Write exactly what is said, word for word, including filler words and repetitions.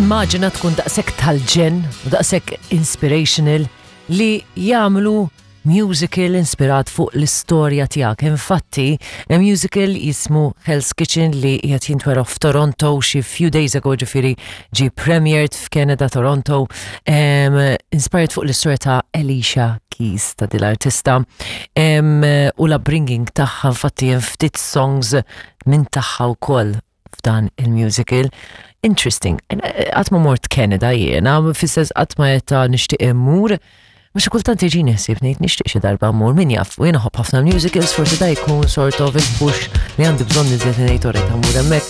Immaġina tkun daqshekk tal-ġenn u daqshekk inspirational li jagħmlu musical inspirat fuq l-istorja tiegħek. Infatti, musical jismu Hell's Kitchen li qiegħed jintwera f'Toronto xi few days ago, ġifieri ġie premiered f'Canada, Toronto, um, inspired fuq l-istorja ta' Alicia Keys, ta' dil-artista um, u l-upbringing tagħha. Infatti hemm ftit songs minn tagħha wkoll f'dan il-musical. Interesting. Qatt ma mort Canada jiena, fis-sens qatt ma jetta nixtieq immur. Ma xi kultant jiġini ħsieb ngħid nixtieq xi darba mmur, min jaf, u jiena nħobb ħafna musicals, forsi da jkun sort of il-push li għandi bżonn iżjed ngħid orrejt mmur hemmhekk.